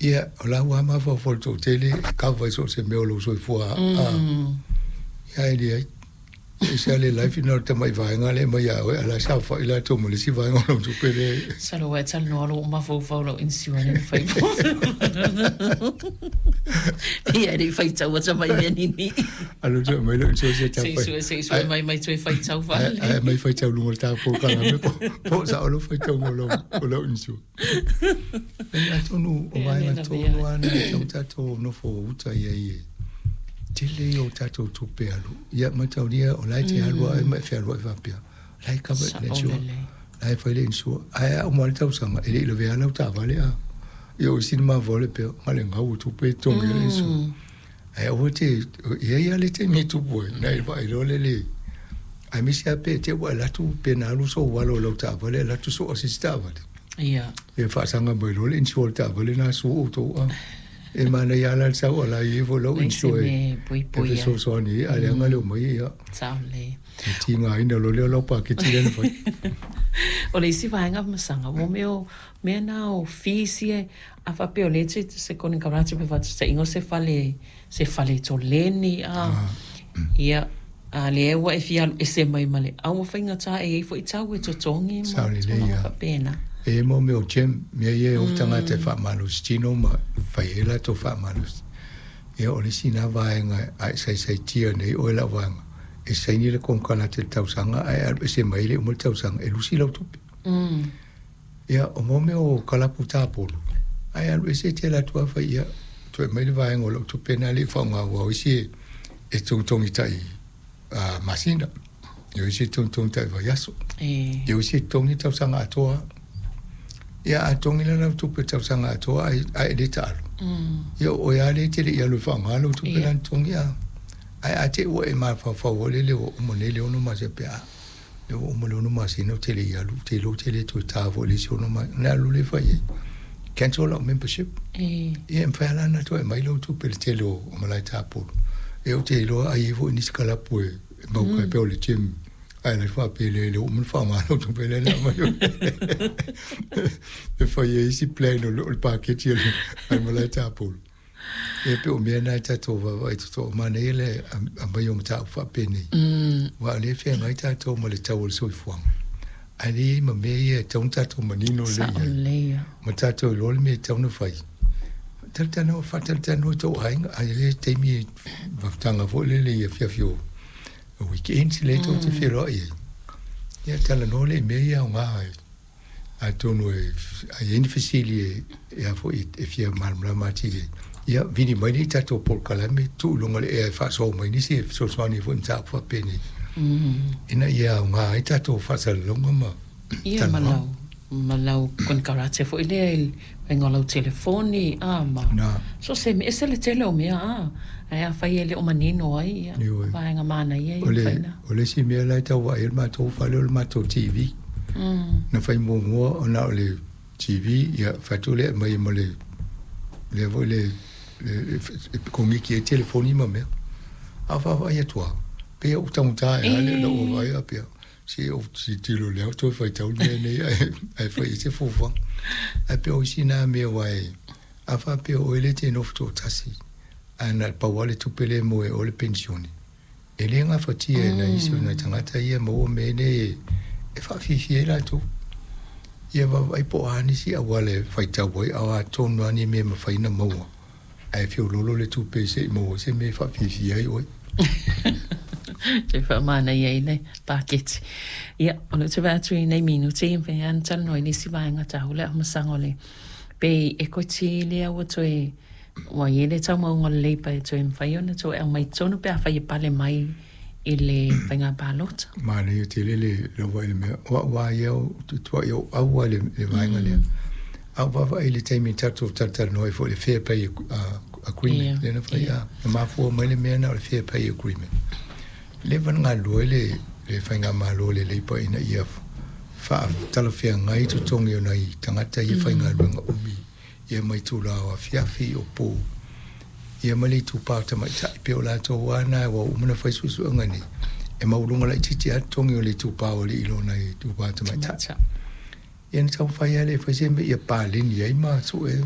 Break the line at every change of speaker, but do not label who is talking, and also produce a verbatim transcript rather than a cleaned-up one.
Ia, o la ua mafaufau i le toatele e kava i so o se mea o lou soifua a ia e leai. E ese lava le life na o le tamai vaega lea e aumai ia oe, a o la e saofai latou ma le isi vaega o lau tupe lea e.
Masalo ua e talanoa lou mafaufau i lau insurance na fai pei e le i faitau ata mai mea nini.
Alu toe mai lau insurance ia
Se i
tafai.
sue se i sue mai mai toe faitau
Ae
faalelei.
ae aumai faitau i luga o le ta polokalame po po o sao lau faitauga o lau o lau insurance. Atonu o
Ia le
vaega
lavea.
tonu lava na e tatau ona tatou nofo uta i ai e tele ia o tatou tupe alu. Ia mataulia o la e te alu lava oe ma e fealuai faapea, o la e cover e le
Sao
insure,
lelei.
la e fai le insure. Ae a uma lava le tausaga, e le i lavea lava lau taavale a. Ia o isi na mafua le pea, na o le gau o tupe e totogi ai le insure. Ae aua te, e i ai lava le taimi e tupu ai, ona e vaai loa lea i le aemaise lava pe te i ua e alu atu pe na alu sou alo i lau taavale ae alu atu soa se isi taavale.
Ia.
Ia faasaga mai loa le insure a le taavale lena sua outou a. E manaia lava la le sau a la i ai foi lau
Leai se
insure
mea e
e
puipui ai.
fesoasoani ai, a leaga le omai ia
Sao lelei.
e tigaina loa lea o lau paketi lea na fai.
O le isi vaega masaga, mo mea o mea na o fees ia, a faapea o lea e te se konekarate pe faataitaiga o se fale se fale toleni a ia a lea ua e fia alu ese mai ma le au faigata e i ai foi tau e totogi ma
Sao lelei
tulaga
lava.
faapena.
E i ai mo mea o gym, mea ia e o tagata e faamalositino ma fai ai latou faamalosi. Ia o le isi lena vaega a e saisaitia nei oe lau vaega, e saini le konekarate i le tausaga ae alu ese mai e le i uma le tausaga e lusi lau tupe. Ia, o mo mea o kalapu tapolo, ae alu ese e te alu atu lava fai, ia, toe aumai le vaega o lau tupe lena e le i faaaoga aua o isi e togitogi tai masina, ia o isi e togitogi tai vaiaso, ia o isi e totogi tausaga atoa lava. Ia a totogi la lau tupe tausaga atoa ae ae e le taalo, ia o oe lava lea e te le i alu e faaaoga lau tupe
Ia.
la na totogi a. Ae a te i ua e mafaufau foi lele ua uma nei le ono masina pe a lea ua uma le ono masina ou te le i alu, ou te iloa ou te le toe ta foi i le isi ono masina, ona e alu lea fai i ai, cancel lau membership. Ia e mafai lava la ona toe aumai lau tupe i le tele o malae tapolo. Ia ou te iloa ai i ai foi nisi kalapu e mauka ai pei o le gym ae la faapea le le ua uma ona faaaoga lau tupe lea na aumai e fai ai isi plan o le paketi a le malae tapolo. Ia pei o mea na e tatou vaavaai totoa manaia le aumai o mataupu faapenei aua o lea e feagai tatou ma le tau o le soifuaga ae le i ai ma mea ia e tatau ona tatou manino lelei
Sao
i ai
lelei lava.
ma tatou iloa le mea e tatau ona fai. Talatalanoa, faatalatalanoa i tou aiga, a i ai le taimi e mafutaga foi lele i afiafi o weekends lea tou te feiloai ai, ia talanoa lea i mea ia aoga ai. Atonu e a i ai ni fesili e a foi e fia malamalama atili ai, ia vili mai lea i tatou polokalame, tuu i luga o le ea e faasoa mai nisi e fesoasoani ai foi i mataupu faapenei, ina ia aoga ai tatou faasalalauga ma
Ia ma
talanoaga.
lau ma lau konekarate foi lea i le faiga o lau telefoni a ma
Na.
so o se mea, ese le tele o mea a ae afai e le o manino ai ia
Ioe.
vaega manaia
O
ia
le,
mafai ona.
o le isi mea la e tau vaai ai le matou fale o le matou T V. Na fai muamua ona o le T V, ia fai atu lea e aumai ma le lea foi le le e koniki ai telefoni ma mea. A vaavaai atu lava, pei ua taugata ea le lou vaavaai faapea, se ou tilotilo lea toe faitau le mea nei ae ae fai i ai se fuafuaga. Ae pei o isi na mea aua e a faapea o oe lea e te nofo toatasi, ae na o le pau lava le tupe lea e maua e oe o le penisione, e le gafatia e nai isi o nai tagata ia e maua mea nei e faafiafia ai latou. Ia vaavaai po o a nisi auala e faitau ai, a o a tonu lava ni mea e mafai ona maua, ae feoloolo le tupe se i maua ai se mea e faafiafia ai oe.
Toe faamanaia ai le paketi. Ia, o lea ou te vaai atu i nei minute, e mafai lava ona talanoa i le isi vaega taua le amasaga o le pay equity lea ua toe ua i ai le taumauga o le Labour e toe mafai ona toe aumai i totonu pe afai e pale mai i le faiga palota.
Manaia tele le lava i le mea, o au lava ia ou te tuuai ou au lava i le vaega lea. A ou vaavaai i le taimi tatou talatalanoa ai foi i le Fair Pay Agreement lea na fai, a, na mafua mai le mea lena o le Fair Pay Agreement. Leva ona galulue le le faigamalo a le Labour ina ia faatalafeagai totogi o nai tagata ia faigaluega umi ia mai itula o afiafi o po ia ma le itupa o tamaitai pei o latou lava na ua uma ona fai suesuega nei e maualuga laitiiti lava totogi o le itupa o alii i lo nai itupa o tamaitai. Ia na taumafai lava e fai se mea ia paleni ai ma sue